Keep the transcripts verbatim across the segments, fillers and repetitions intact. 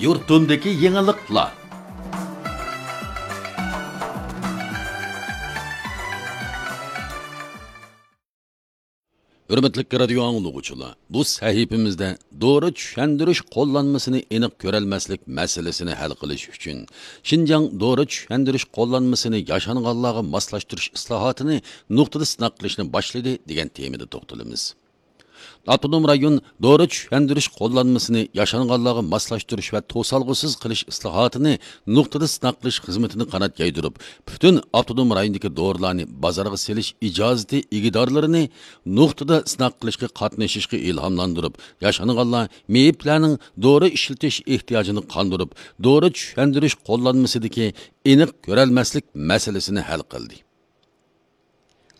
يۇرتۇمدىكى يېڭىلىقلار. ھۆرمەتلىك رادىيو ئاڭلىغۇچىلار، بۇ سەھىپىمىزدە دورا چۈشەندۈرۈش قوللانمىسىنى ئېنىق كۆرەلمەسلىك مەسىلىسىنى ھەل قىلىش ئۈچۈن، شىنجاڭ دورا چۈشەندۈرۈش قوللانمىسىنى ياشانغانلارغا ماسلاشتۇرۇش ئىسلاھاتىنى نۇقتىدا سىناق قىلىشنى باشلىدى، دېگەن تېمىدا توختىلىمىز. ئاپتونوم رايون دورا چۈشەندۈرۈش قوللانمىسىنى ياشانغانلارغا ماسلاشتۇرۇش ۋە توسالغۇسىز قىلىش ئىسلاھاتىنى نۇقتىدا سىناق قىلىش خىزمىتىنى قانات يايدۇرۇپ، پۈتۈن ئاپتونوم رايوندىكى دورىلارنى بازارغا سېلىش ئىجازىتى ئىگىدارلىرىنى نۇقتىدا سىناق قىلىشقا قاتنىشىشقا ئىلھاملاندۇرۇپ، ياشانغانلار مېيىپلەرنىڭ دورا ئىشلىتىش ئېھتىياجىنى قاندۇرۇپ، دورا چۈشەندۈرۈش قوللانمىسىدىكى ئېنىق كۆرەلمەسلىك مەسىلىسىنى ھەل قىلدى.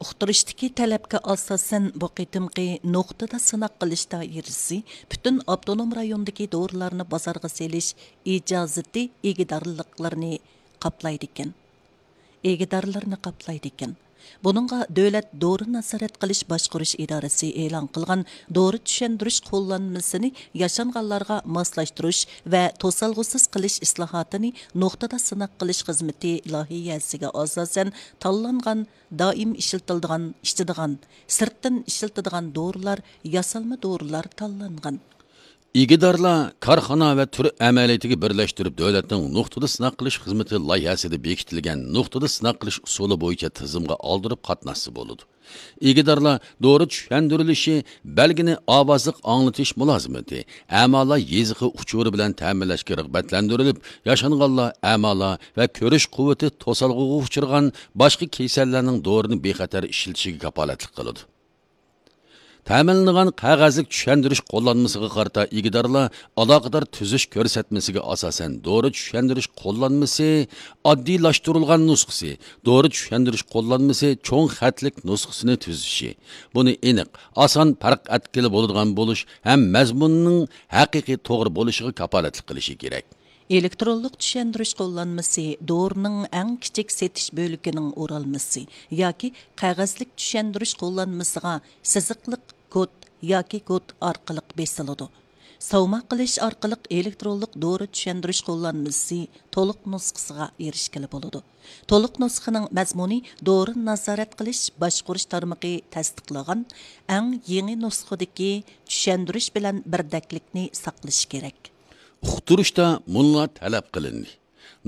ئۇقتۇرۇشتىكى تەلەپكە ئاساسەن، بۇ قېتىمقى نۇقتىدا سىناق قىلىش دائىرىسى پۈتۈن ئاپتونوم رايوندىكى دورىلارنى بازارغا سېلىش ئىجازىتى ئىگىدارلىقلىرىنى قاپلايدىكەن. ئىگىدارلىرىنى قاپلايدىكەن. بۇنىڭغا دۆلەت دورا نازارەت قىلىش باشقۇرۇش ئىدارىسى ئېلان قىلغان دورا چۈشەندۈرۈش قوللانمىسىنى ياشانغانلارغا ماسلاشتۇرۇش ۋە توسالغۇسىز قىلىش ئىسلاھاتىنى نۇقتىدا سىناق قىلىش خىزمىتى لايىھەسىگە ئاساسەن تاللانغان دائىم ئىشلىتىلىدىغان، ئىچىدىغان، سىرتتىن ئىشلىتىدىغان دورىلار، ياسالما دورىلار تاللانغان. ئىگىدارلار كارخانا ۋە تۈر ئەمەلىيىتىگە بىرلەشتۈرۈپ، دۆلەتنىڭ نۇقتىدا سىناق قىلىش خىزمىتى لايىھەسىدە بېكىتىلگەن نۇقتىدا سىناق قىلىش ئۇسۇلى بويىچە تىزىمغا ئالدۇرۇپ قاتناشسا بولىدۇ. ئىگىدارلار دورا چۈشەندۈرۈلۈشى، بەلگىنى ئاۋازلىق ئاڭلىتىش مۇلازىمىتى، ئەمالار يېزىقى ئۇچۇرى بىلەن تەمىنلەشكە رىغبەتلەندۈرۈلۈپ، ياشانغانلار ئەمالار ۋە كۆرۈش قۇۋۋىتى توسالغۇغا ئۇچرىغان باشقا كېسەللەرنىڭ دورىنى بىخەتەر ئىشلىتىشىگە كاپالەتلىك قىلىدۇ. تەمىنلىنىدىغان قەغەزلىك چۈشەندۈرۈش قوللانمىسىغا قارىتا ئىگىدارلار ئالاقىدار تۈزۈش كۆرسەتمىسىگە ئاساسەن، دورا چۈشەندۈرۈش قوللانمىسى ئاددىيلاشتۇرۇلغان نۇسخىسى، دورا چۈشەندۈرۈش قوللانمىسى چوڭ خەتلىك نۇسخىسىنى تۈزۈشى، بۇنى ئېنىق، ئاسان پەرق ئەتكىلى بولىدىغان بولۇش ھەم مەزمۇننىڭ ھەقىقىي توغرا بولۇشىغا كاپالەتلىك قىلىشى كېرەك. ئېلېكترونلۇق چۈشەندۈرۈش قوللانمىسى دورىنىڭ ئەڭ كىچىك سېتىش بۆلىكىنىڭ ئورالمىسى ياكى قەغەزلىك چۈشەندۈرۈش قوللانمىسىغا سىزىقلىق كود ياكى كود ئارقىلىق بېسىلىدۇ. ساۋما قىلىش ئارقىلىق ئېلېكترونلۇق دورا چۈشەندۈرۈش قوللانمىسى تولۇق نۇسخىسىغا ئېرىشكىلى بولىدۇ. تولۇق نۇسخىنىڭ مەزمۇنى دورىنى نازارەت قىلىش باشقۇرۇش تارمىقى تەستىقلىغان ئەڭ يېڭى نۇسخىدىكى چۈشەندۈرۈش بىلەن بىردەكلىكنى ساقلىشى كېرەك. ئۇقتۇرۇشتا مۇنۇلار تەلەپ قىلىندى.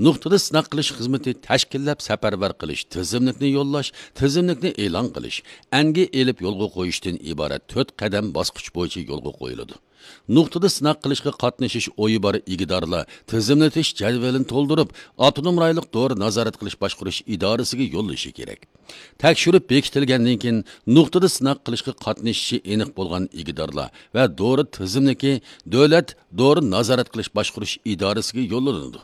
نۇقتىدا سىناق قىلىش خىزمىتى تەشكىللەپ سەپەرۋەر قىلىش، تىزىملىكنى يوللاش، تىزىملىكنى ئېلان قىلىش، ئەنگە ئېلىپ يولغا قويۇشتىن ئىبارەت تۆت قەدەم باسقۇچ بويىچە يولغا قويۇلىدۇ. نۇقتىدا سىناق قىلىشقا قاتنىشىش ئويى بار ئىگىدارلار تىزىملىتىش جەدۋىلىنى تولدۇرۇپ، ئاپتونوم رايونلۇق دورا نازارەت قىلىش باشقۇرۇش ئىدارىسىگە يوللىشى كېرەك. تەكشۈرۈپ بېكىتىلگەندىن كېيىن، نۇقتىدا سىناق قىلىشقا قاتنىشىشى ئېنىق بولغان ئىگىدارلار ۋە دورا تىزىملىكى دۆلەت دورا نازارەت قىلىش باشقۇرۇش ئىدارىسىگە يوللىنىدۇ.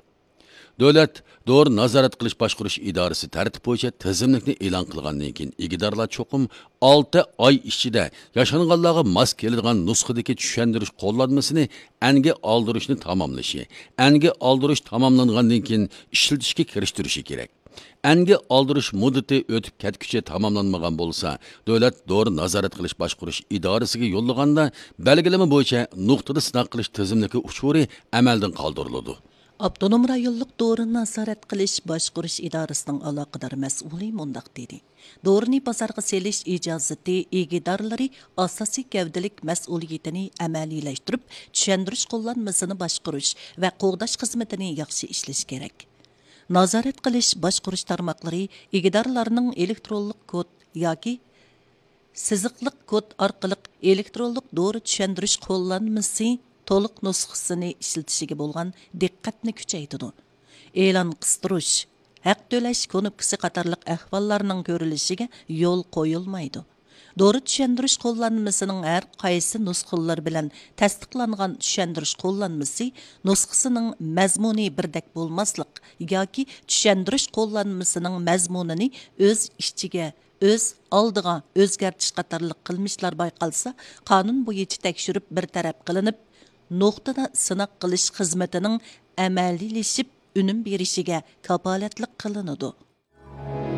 دۆلەت دورا نازارەت قىلىش باشقۇرۇش ئىدارىسى تەرتىپ بويىچە تىزىملىكنى ئېلان قىلغاندىن كېيىن، ئىگىدارلار چوقۇم ئالتە ئاي ئىچىدە ياشانغانلارغا ماس كېلىدىغان نۇسخىدىكى چۈشەندۈرۈش قوللانمىسىنى ئەنگە ئالدۇرۇشنى تاماملىشى، ئەنگە ئالدۇرۇش تاماملانغاندىن كېيىن ئىشلىتىشكە كىرىشتۈرۈشى كېرەك. ئەنگە ئالدۇرۇش مۇددىتى ئۆتۈپ كەتكۈچە تاماملانمىغان بولسا، دۆلەت دورا نازارەت قىلىش باشقۇرۇش ئىدارىسىگە يوللىغاندا بەلگىلىمە بويىچە نۇقتىدا سىناق قىلىش تىزىملىكى ئۇچۇرى ئەمەلدىن قالدۇرۇلىدۇ. ئاپتونوم رايونلۇق دورا نازارەت قىلىش باشقۇرۇش ئىدارىسىنىڭ ئالاقىدار مەسئۇلى مۇنداق دېدى: دورىنى بازارغا سېلىش ئىجازىتى ئىگىدارلىرى ئاساسىي گەۋدىلىك مەسئۇلىيىتىنى ئەمەلىيلەشتۈرۈپ، چۈشەندۈرۈش قوللانمىسىنى باشقۇرۇش ۋە قوغداش خىزمىتىنى ياخشى ئىشلىشى كېرەك. نازارەت قىلىش باشقۇرۇش تارماقلىرى ئىگىدارلارنىڭ ئېلېكترونلۇق كود ياكى سىزىقلىق كود ئارقىلىق ئېلېكترونلۇق دورا چۈشەندۈرۈش قوللانمىسى تولۇق نۇسخىسىنى ئىشلىتىشىگە بولغان دىققەتنى كۈچەيتىدۇ. ئېلان قىستۇرۇش، ھەق تۆلەش كۇنۇپكىسى قاتارلىق ئەھۋاللارنىڭ كۆرۈلۈشىگە يول قويۇلمايدۇ. دورا چۈشەندۈرۈش قوللانمىسىنىڭ ھەر قايسى نۇسخىلىرى بىلەن تەستىقلانغان چۈشەندۈرۈش قوللانمىسى نۇسخىسىنىڭ مەزمۇنى بىردەك بولماسلىق ياكى چۈشەندۈرۈش قوللانمىسىنىڭ مەزمۇنىنى ئۆز ئىچىگە ئۆز ئالدىغا ئۆزگەرتىش قاتارلىق قىلمىشلار بايقالسا، قانۇن بويىچە تەكشۈرۈپ بىر تەرەپ قىلىنىپ، نۇقتىدا سىناق قىلىش خىزمىتىنىڭ ئەمەلىيلىشىپ ئۈنۈم بېرىشىگە كاپالەتلىك قىلىنىدۇ.